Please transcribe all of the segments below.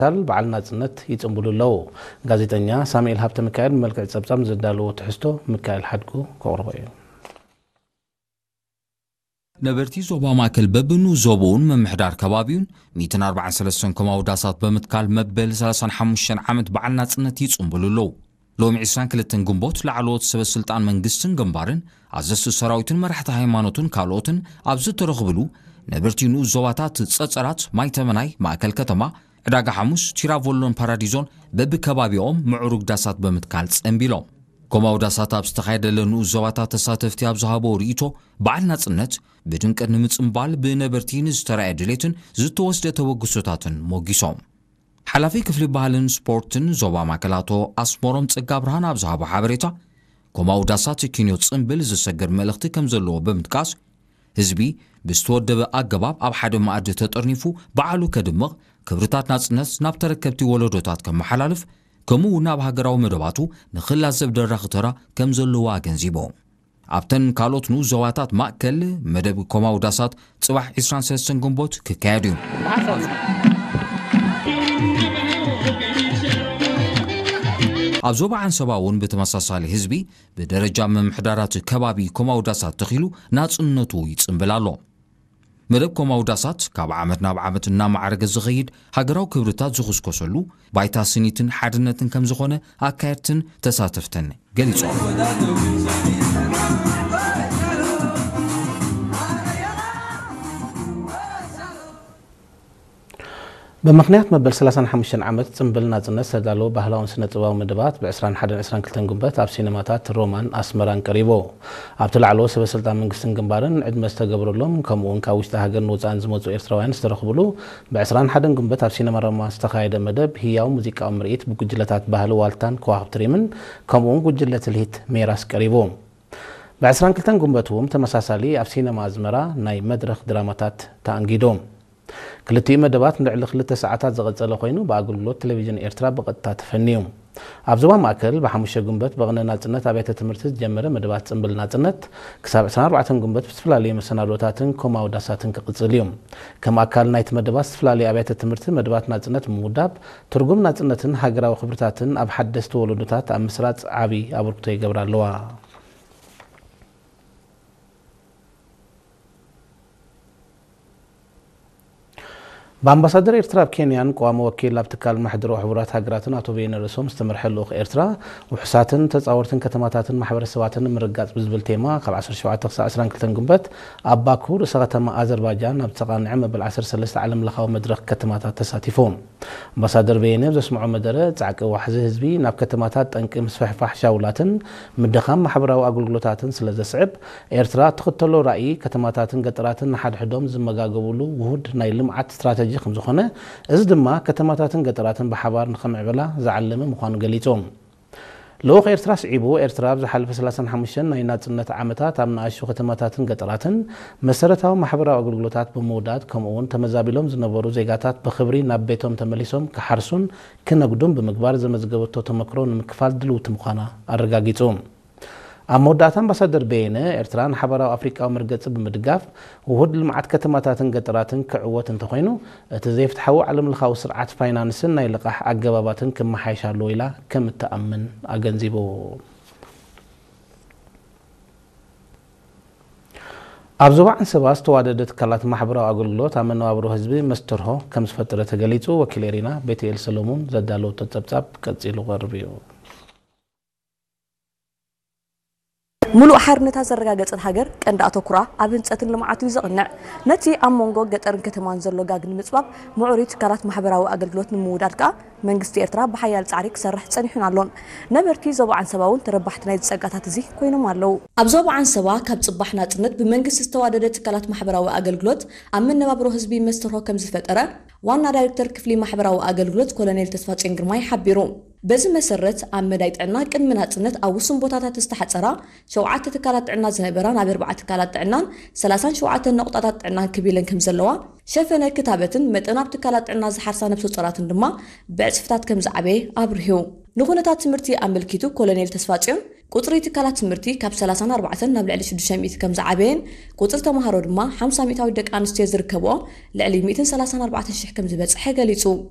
ብምትካል በዓል ናጽነት ይጽንብሉ ኣለዉ። ጋዜጠኛ ሳሙኤል ሃብተ ሚካኤል ብመልክዕ ጸብጻብ ዘዳለዎ ትሕዝቶ ሚካኤል ሓድጉ ከቕርቦ እዩ። ነበርቲ ዞባ ማእከል በብንኡስ ዞባኡን ምምሕዳር ከባቢኡን ሚእትን ኣርባዓን ሰለስተን ኮማዊ ዳሳት ብምትካል መበል ሰላሳን ሓሙሽተን ዓመት በዓል ናጽነት ይጽንብሉ ኣለዉ። ሎሚ ዕስራን ክልተን ግንቦት ላዕለዎት ሰበ ስልጣን መንግስትን ግንባርን ኣዘዝቲ ሰራዊትን መራሕቲ ሃይማኖትን ካልኦትን ኣብ ዝተረኽብሉ ነበርቲ ንኡስ ዞባታት ጸጸራት ማይተመናይ ማእከል ከተማ ዕዳጋ ሓሙስ ቲራቮሎን ፓራዲዞን በብከባቢኦም ምዕሩግ ዳሳት ብምትካል ጸንቢሎም። ኮማዊ ዳሳት ኣብ ዝተኻየደለ ንኡስ ዞባታት ተሳተፍቲ ኣብ ዝሃቦ ርእይቶ በዓል ናጽነት ብድምቀት ንምጽንባል ብነበርቲ ንዝተራእየ ድሌትን ዝተወስደ ተበግሶታትን ሞጊሶም። ሓላፊ ክፍሊ ባህልን ስፖርትን ዞባ ማእከል ኣቶ ኣስመሮም ጸጋብርሃን ኣብ ዝሃቦ ሓበሬታ፣ ኮማዊ ዳሳት ኪንዮ ጽንብል ዝሰግር መልእኽቲ ከም ዘለዎ ብምጥቃስ፣ ህዝቢ ብዝተወደበ ኣገባብ ኣብ ሓደ መኣዲ ተጠርኒፉ በዓሉ ከድምቕ፣ ክብርታት ናጽነት ናብ ተረከብቲ ወለዶታት ከመሓላልፍ፣ ከምኡ እውን ኣብ ሃገራዊ መደባቱ ንኽላዘብ ደራኺ ተራ ከም ዘለዎ ኣገንዚቡ። ኣብተን ካልኦት ንኡስ ዞባታት ማእከል መደብ ኮማዊ ዳሳት ጽባሕ ዕስራን ሰለስተን ግንቦት ክካየድ እዩ። ኣብ ዞባ ዓንሰባ እውን ብተመሳሳሊ ህዝቢ ብደረጃ ምምሕዳራት ከባቢ ኮማዊ ዳሳት ተኺሉ ናጽነቱ ይጽንብል ኣሎ። መደብ ኮማዊ ዳሳት ካብ ዓመት ናብ ዓመት እናማዕረገ ዝኸይድ ሃገራዊ ክብርታት ዝኹስኮሰሉ ባይታ ስኒትን ሓድነትን ከም ዝኾነ ኣካየድትን ተሳተፍትን ገሊጾም። ብምኽንያት መበል ሰላሳን ሓሙሽተን ዓመት ጽንብል ናጽነት ዝተዳለዉ ባህላውን ስነ-ጥበባዊ መደባት ብ ዕስራን ሓደን ዕስራን ክልተን ግንቦት ኣብ ሲነማታት ሮማን ኣስመራን ቀሪቡ። ኣብቲ ላዕለዎት ሰበ ስልጣን መንግስትን ግንባርን ዕድመ ዝተገብረሎም፣ ከምኡ እውን ካብ ውሽጢ ሃገርን ወጻእን ዝመጹ ኤርትራውያን ዝተረኽብሉ ብ ዕስራን ሓደን ግንቦት ኣብ ሲነማ ሮማ ዝተኻየደ መደብ ህያው ሙዚቃዊ ምርኢት ብጉጅለታት ባህሊ ዋልታን ከዋኽብቲ ሪምን ከምኡ እውን ጉጅለ ትልሂት ሜራስ ቀሪቡ። ብ ዕስራን ክልተን ግንቦት እውን ተመሳሳሊ ኣብ ሲነማ ኣዝመራ ናይ መድረኽ ድራማታት ተኣንጊዱ። ክልቲኡ መደባት ንልዕሊ ክልተ ሰዓታት ዝቐጸለ ኮይኑ፣ ብኣገልግሎት ቴሌቪዥን ኤርትራ ብቐጥታ ተፈንዩ። ኣብ ዞባ ማእከል፣ ብሓሙሽተ ግንቦት ብቕነ ናጽነት ኣብያተ ትምህርቲ ዝጀመረ መደባት ጽምብል ናጽነት፣ ክሳብ ዕስራን ኣርባዕተን ግንቦት ብዝተፈላለዩ መሰናዶታትን ኮማዊ ዳሳትን ክቕጽል እዩ። ከም ኣካል ናይቲ መደባት፣ ዝተፈላለዩ ኣብያተ ትምህርቲ መደባት ናጽነት ብምውዳብ፣ ትርጉም ናጽነትን ሃገራዊ ክብርታትን ኣብ ሓደስቲ ወለዶታት ኣብ ምስራጽ ዓቢ ኣበርክቶ ይገብራ ኣለዋ። ብኣምባሳደር ኤርትራ ኣብ ኬንያን ቀዋሚ ወኪል ኣብ ትካል ማሕደር ሕቡራት ሃገራትን ኣቶ በየነ ርእሶም ዝተመርሐ ልኡኽ ኤርትራ፣ ውሑሳትን ተጻወርትን ከተማታትን ማሕበረሰባትን ንምርጋጽ ብዝብል ቴማ፣ ካብ ዓሰርተ ሸውዓተ ክሳብ ዕስራን ክልተን ግንቦት ኣብ ባኩ፣ ርእሰ ከተማ ኣዘርባጃን፣ ኣብ ዝተቓንዐ መበል ዓሰርተ ሰለስተ ዓለም ለኻዊ መድረኽ ከተማታት ተሳቲፉ። ኣምባሳደር በየነ ኣብ ዘስምዖ መደረ፣ ጻዕቂ ዋሕዚ ህዝቢ ናብ ከተማታት ጠንቂ ምስፍሕፋሕ ሻውላትን ምድኻም ማሕበራዊ ኣገልግሎታትን ስለ ዘስዕብ፣ ኤርትራ እትኽተሎ ራእይ፣ ከተማታትን ገጠራትን ንሓድሕዶም ዝመጋገቡሉ ውሁድ ናይ ልምዓት ስትራተጂ ከም ዝኾነ፣ እዚ ድማ ከተማታትን ገጠራትን ብሓባር ንኸምዕብላ ዝዓለመ ምዃኑ ገሊጹ። ልኡኽ ኤርትራ ስዒቡ፣ ኤርትራ ኣብ ዝሓለፈ ሰላሳን ሓሙሽተን ናይ ናጽነት ዓመታት ኣብ ንኣሽቱ ከተማታትን ገጠራትን መሰረታዊ ማሕበራዊ ኣገልግሎታት ብምውዳድ፣ ከምኡ እውን ተመዛቢሎም ዝነበሩ ዜጋታት ብኽብሪ ናብ ቤቶም ተመሊሶም ክሓርሱን ክነግዱን ብምግባር ዘመዝገበቶ ተመክሮ ንምክፋል ድልውቲ ምዃና ኣረጋጊጹ። ኣብ መወዳእታ ኣምባሳደር በየነ፣ ኤርትራ ንሓባራዊ ኣፍሪቃዊ መርገጺ ብምድጋፍ ውሁድ ልምዓት ከተማታትን ገጠራትን ክዕወት እንተኾይኑ፣ እቲ ዘይፍትሓዊ ዓለምለኻዊ ስርዓት ፋይናንስን ናይ ልቓሕ ኣገባባትን ክመሓየሽ ኣለዎ ኢላ ከም እትኣምን ኣገንዚቡ። ኣብ ዞባ ዓንሰባ ዝተዋደደ ትካላት ማሕበራዊ ኣገልግሎት ኣብ መነባብሮ ህዝቢ መስተርሆ ከም ዝፈጠረ ተገሊጹ። ወኪል ኤሪና ቤትኤል ሰሎሙን ዘዳለወቶ ጸብጻብ ቀጺሉ ክቐርብ እዩ። ሙሉእ ሓርነታ ዘረጋገጸት ሃገር ቀንዲ ኣተኩራ ኣብ ህንጸትን ልምዓቱ እዩ ዘቕንዕ። ነቲ ኣብ መንጎ ገጠርን ከተማን ዘሎ ጋግ ንምጽባብ ምዕሩይ ትካላት ማሕበራዊ ኣገልግሎት ንምውዳድ ከኣ መንግስቲ ኤርትራ ብሓያል ጻዕሪ ክሰርሕ ጸኒሑን ኣሎን። ነበርቲ ዞባ ዓንሰባ እውን ተረባሕቲ ናይዚ ጸጋታት እዚ ኮይኖም ኣለዉ። ኣብ ዞባ ዓንሰባ ካብ ጽባሕ ናጽነት ብመንግስቲ ዝተዋደደ ትካላት ማሕበራዊ ኣገልግሎት ኣብ መነባብሮ ህዝቢ መስተርሆ ከም ዝፈጠረ ዋና ዳይሬክተር ክፍሊ ማሕበራዊ ኣገልግሎት ኮሎኔል ተስፋጽዮን ግርማይ ሓቢሩ። በዚ መሰረት ኣብ መዳይ ጥዕና ቅድሚ ናጽነት ኣብ ውሱን ቦታታት ዝተሓጸራ ሸውዓተ ትካላት ጥዕና ዝነበራ ናብ ኣርባዓ ትካላት ጥዕናን ሰላሳን ሸውዓተን ነቑጣታት ጥዕናን ክብ ኢለን ከም ዘለዋ፣ ሸፈነ ክታበትን መጠን ኣብ ትካላት ጥዕና ዝሓርሳ ነብሰ ጾራትን ድማ ብዕጽፍታት ከም ዝዓበየ ኣብሪሁ። ንኹነታት ትምህርቲ ኣመልኪቱ ኮሎኔል ተስፋጽዮን፣ ቁጽሪ ትካላት ትምህርቲ ካብ ሰላሳን ኣርባዕተን ናብ ልዕሊ ሽዱሽተ ሚእቲ ከም ዝዓበየን ቁጽሪ ተማሃሮ ድማ ሓምሳ ሚእታዊት ደቂ ኣንስትዮ ዝርከብኦ ልዕሊ ሚእትን ሰላሳን ኣርባዕተን ሽሕ ከም ዝበጽሐ ገሊጹ።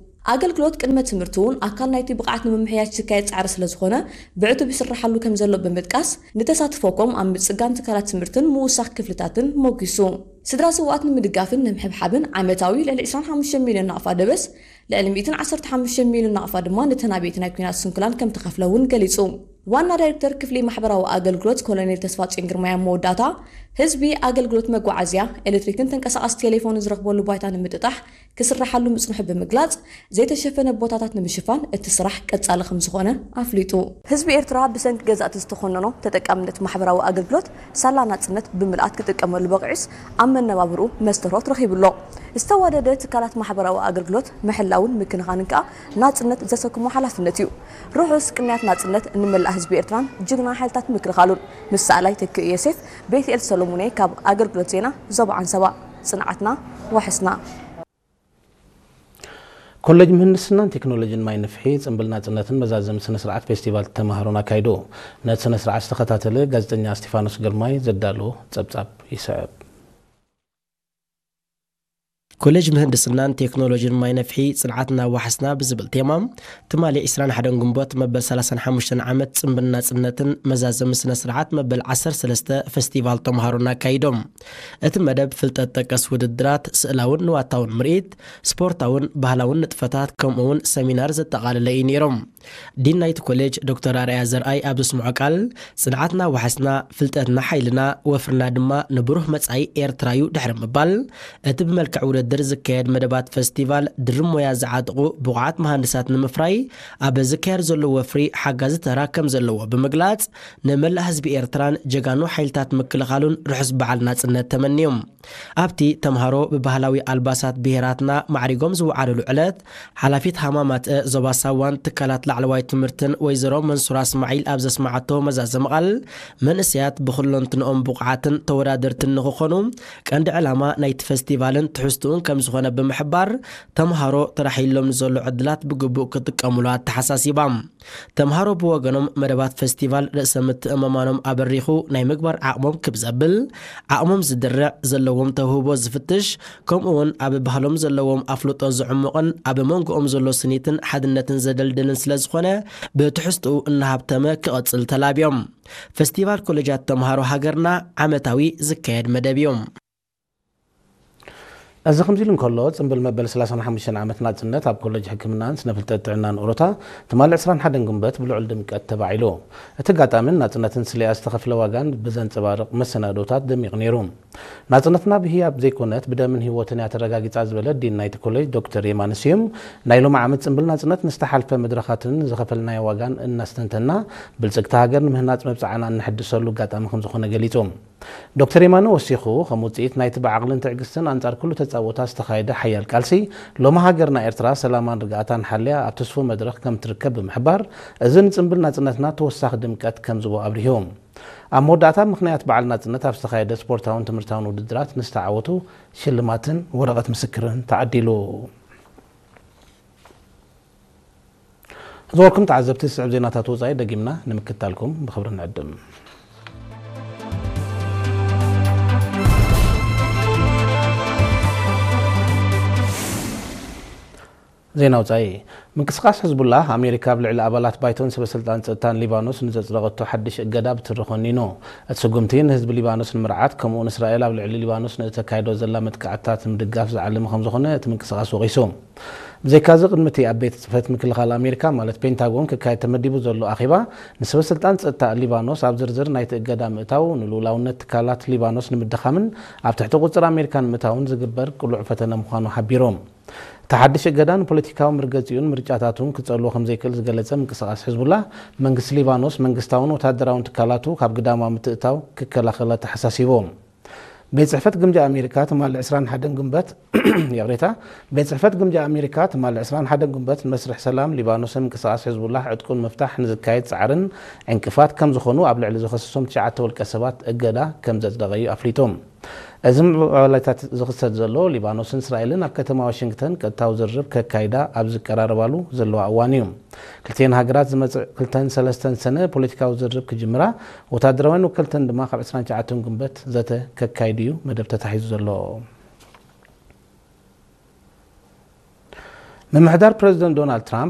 ኣገልግሎት ቅድመ ትምህርቲ እውን ኣካል ናይቲ ብቕዓት ንምምሕያሽ ዝካየድ ጻዕሪ ስለ ዝኾነ፣ ብዕቱብ ይስራሓሉ ከም ዘሎ ብምጥቃስ፣ ንተሳትፎ ከምኡ ኣብ ምጽጋን ትካላት ትምህርትን ምውሳኽ ክፍልታትን ሞጊሱ። ስድራ ስውኣት ንምድጋፍን ንምሕብሓብን ዓመታዊ ልዕሊ ዕስራን ሓሙሽተን ሚልዮን ናቕፋ ደበስ፣ ልዕሊ ሚእትን ዓሰርተ ሓሙሽተን ሚልዮን ናቕፋ ድማ ነተን ኣበይቲ ናይ ኲናት ስንኩላን ከም ተኸፍለ እውን ገሊጹ። ዋና ዳይሬክተር ክፍሊ ማሕበራዊ ኣገልግሎት ኮሎኔል ተስፋጽዮን ግርማይ ኣብ መወዳእታ፣ ህዝቢ ኣገልግሎት መጓዓዝያ፣ ኤሌክትሪክን ተንቀሳቓሲ ቴሌፎንን ዝረኽበሉ ባይታ ንምጥጣሕ ክስራሓሉ ምጽንሑ ብምግላጽ፣ ዘይተሸፈነ ቦታታት ንምሽፋን እቲ ስራሕ ቀጻሊ ከም ዝኾነ ኣፍሊጡ። ህዝቢ ኤርትራ ብሰንኪ ገዛእቲ ዝተኾነኖ ተጠቃምነት ማሕበራዊ ኣገልግሎት ሳላ ናጽነት ብምልኣት ክጥቀመሉ በቒዑስ ኣብ መነባብርኡ መስተርሆት ረኺቡ ኣሎ። ዝተዋደደ ትካላት ማሕበራዊ ኣገልግሎት ምሕላውን ምክንኻንን ከኣ ናጽነት ዘሰክሞ ሓላፍነት እዩ። ርሑስ ቅንያት ናጽነት ንመላእ ህዝቢ ኤርትራን ጅግና ሓይልታት ምክልኻሉን። ምስ ሰኣላይ ተክእ ዮሴፍ፣ ቤትኤል ሰሎሙኔ ካብ ኣገልግሎት ዜና ዞባ ዓንሰባ። ጽንዓትና ዋሕስና። ኮሌጅ ምህንድስናን ቴክኖሎጂን ማይ ንፍሒ ጽምብል ናጽነትን መዛዘሚ ስነ ስርዓት ፌስቲቫል ተማሃሮን ኣካይዱ። ነቲ ስነ ስርዓት ዝተኸታተለ ጋዜጠኛ እስቲፋኖስ ግርማይ ዘዳለዎ ጸብጻብ ይስዕብ። ኮሌጅ ምህንድስናን ቴክኖሎጂን ማይ ነፍሒ ጽንዓትና ዋሕስና ብዝብል ቴማ ትማሊ ዕስራን ሓደን ግንቦት መበል ሰላሳን ሓሙሽተን ዓመት ጽምብል ናጽነትን መዛዘሚ ስነ ስርዓት መበል ዓሰርተ ሰለስተ ፌስቲቫል ተምሃሮን ኣካይዶም። እቲ መደብ ፍልጠት ጠቀስ ውድድራት፣ ስእላውን ንዋታውን ምርኢት፣ ስፖርታውን ባህላውን ንጥፈታት ከምኡ እውን ሰሚናር ዘጠቓለለ እዩ ነይሮም። ዲን ናይቲ ኮሌጅ ዶክተር ኣርኣያ ዘርኣይ ኣብ ዘስምዖ ቃል፣ ጽንዓትና ዋሕስና፣ ፍልጠትና ሓይልና፣ ወፍርና ድማ ንብሩህ መጻኢ ኤርትራ እዩ ድሕሪ ምባል፣ እቲ ብመልክዕ ውድድር ዝካየድ መደባት ፈስቲቫል ድርብ ሞያ ዝዓጥቑ ብቑዓት መሃንድሳት ንምፍራይ ኣብ ዝካየድ ዘሎ ወፍሪ ሓጋዚ ተራ ከም ዘለዎ ብምግላጽ፣ ንመላእ ህዝቢ ኤርትራን ጀጋኑ ሓይልታት ምክልኻሉን ርሑስ በዓል ናጽነት ተመንዮም። ኣብቲ ተምሃሮ ብባህላዊ ኣልባሳት ብሄራትና ማዕሪጎም ዝወዓሉሉ ዕለት፣ ሓላፊት ሃማማትአ ዞባ ሳዋን ትካላት ላዕለዋይ ትምህርትን ወይዘሮ መንሱራ እስማዒል ኣብ ዘስመዓቶ መዛዘሚ ቃል፣ መንእሰያት ብኹለንትንኦም ብቑዓትን ተወዳደርትን ንኽኾኑ ቀንዲ ዕላማ ናይቲ ፈስቲቫልን ትሕዝትኡን ከም ዝኾነ ብምሕባር፣ ተምሃሮ ተራሒሎም ንዘሎ ዕድላት ብግቡእ ክጥቀሙሉ ኣተሓሳሲባ። ተምሃሮ ብወገኖም፣ መደባት ፈስቲቫል ርእሰ ምትእምማኖም ኣበሪኹ ናይ ምግባር ዓቕሞም ክብ ዘብል፣ ዓቕሞም ዝድርዕ፣ ዘለዎም ተውህቦ ዝፍትሽ፣ ከምኡ እውን ኣብ ባህሎም ዘለዎም ኣፍልጦ ዝዕሙቕን ኣብ መንጎኦም ዘሎ ስኒትን ሓድነትን ዘደልድልን ስለ ዝኾነ፣ ብትሕዝትኡ እናሃብተመ ክቐጽል ተላብዮም። ፈስቲቫል ኮሌጃት ተምሃሮ ሃገርና ዓመታዊ ዝካየድ መደብ እዩ። እዚ ከምዚ ኢሉ እንከሎ፣ ጽምብል መበል ሰላሳን ሓሙሽተን ዓመት ናጽነት ኣብ ኮሌጅ ሕክምናን ስነ ፍልጠት ጥዕናን ኦሮታ ትማሊ ዕስራን ሓደን ግንቦት ብልዑል ድምቀት ተባዒሉ። እቲ ኣጋጣሚን ናጽነትን ስለያ ዝተኸፍለ ዋጋን ብዘንጸባርቕ መሰናዶታት ደሚቑ ነይሩ። ናጽነትና ብህያብ ዘይኮነት ብደምን ህይወትን እያ ተረጋጊጻ ዝበለ ዲን ናይቲ ኮሌጅ ዶክተር የማነ ስዩም፣ ናይ ሎሚ ዓመት ጽምብል ናጽነት ንዝተሓልፈ መድረኻትን ዝኸፈልናዮ ዋጋን እናስተንተና፣ ብልጽግቲ ሃገር ንምህናጽ መብጽዓና እነሐድሰሉ ኣጋጣሚ ከም ዝኾነ ገሊጹ። ዶክተር የማነ ወሲኹ፣ ከም ውጽኢት ናይቲ ብዓቕልን ትዕግስትን ኣንጻር ኩሉ ተጻብኦታት ዝተኻየደ ሓያል ቃልሲ፣ ሎሚ ሃገርና ኤርትራ ሰላማን ርግኣታን ሓልያ ኣብ ትስፉው መድረኽ ከም ትርከብ ብምሕባር፣ እዚ ንጽምብል ናጽነትና ተወሳኺ ድምቀት ከም ዝቦ ኣብሪሁ። ኣብ መወዳእታ፣ ምኽንያት በዓል ናጽነት ኣብ ዝተኻየደ ስፖርታውን ትምህርታውን ውድድራት ንዝተዓወቱ ሽልማትን ወረቐት ምስክርን ተዓዲሉ። ዝበርኩም ተዓዘብቲ፣ ዝስዕብ ዜናታት ወጻኢ ደጊምና ንምክታልኩም ብኽብሪ ንዕድም። ዜና ወጻኢ። ምንቅስቓስ ሕዝቡላህ፣ ኣሜሪካ ኣብ ልዕሊ ኣባላት ባይቶን ሰበ ስልጣን ጸጥታን ሊባኖስ ንዘጽደቐቶ ሓድሽ እገዳ ብትሪ ኮኒኑ። እቲ ስጉምቲ ንህዝቢ ሊባኖስ ንምርዓት፣ ከምኡውን እስራኤል ኣብ ልዕሊ ሊባኖስ ንእተካይዶ ዘላ መጥቃዕትታት ንምድጋፍ ዝዓለመ ከም ዝኾነ እቲ ምንቅስቓስ ወቒሱ። ብዘይካዚ፣ ቅድሚ እቲ ኣብ ቤት ጽሕፈት ምክልኻል ኣሜሪካ፣ ማለት ፔንታጎን፣ ክካየድ ተመዲቡ ዘሎ ኣኼባ፣ ንሰበ ስልጣን ጸጥታ ሊባኖስ ኣብ ዝርዝር ናይቲ እገዳ ምእታው፣ ንልኡላውነት ትካላት ሊባኖስ ንምድኻምን ኣብ ትሕቲ ቁጽር ኣሜሪካ ንምእታውን ዝግበር ቅሉዕ ፈተነ ምዃኑ ሓቢሩ። እቲ ሓድሽ እገዳ ንፖለቲካዊ መርገጺኡን ምርጫታቱን ክጸልዎ ከም ዘይክእል ዝገለጸ ምንቅስቓስ ሕዝቡላህ፣ መንግስቲ ሊባኖስ መንግስታውን ወታደራውን ትካላቱ ካብ ግዳማዊ ምትእትታው ክከላኸል ኣተሓሳሲቡ። ቤት ጽሕፈት ግምጃ ኣሜሪካ ትማሊ ዕስራን ሓደን ግንቦት፣ ይቕሬታ፣ ቤት ጽሕፈት ግምጃ ኣሜሪካ ትማሊ ዕስራን ሓደን ግንቦት ንመስርሕ ሰላም ሊባኖስን ምንቅስቓስ ሕዝቡላህ ዕጥቁን ምፍታሕ ንዝካየድ ጻዕርን ዕንቅፋት ከም ዝኾኑ ኣብ ልዕሊ ዝኸሰሶም ትሽዓተ ውልቀ ሰባት እገዳ ከም ዘጽደቐ እዩ ኣፍሊጡ። እዚ ምዕባለታት ዝኽሰት ዘሎ፣ ሊባኖስን እስራኤልን ኣብ ከተማ ዋሽንግተን ቀጥታዊ ዝርርብ ከካይዳ ኣብ ዝቀራረባሉ ዘለዋ እዋን እዩ። ክልቲኤን ሃገራት ዝመጽእ ክልተን ሰለስተን ሰነ ፖለቲካዊ ዝርርብ ክጅምራ፣ ወታደራውያን ወከልተን ድማ ካብ ዕስራን ትሽዓተን ግንቦት ዘተ ከካይዱ እዩ መደብ ተታሒዙ ዘሎ። ምምሕዳር ፕረዚደንት ዶናልድ ትራምፕ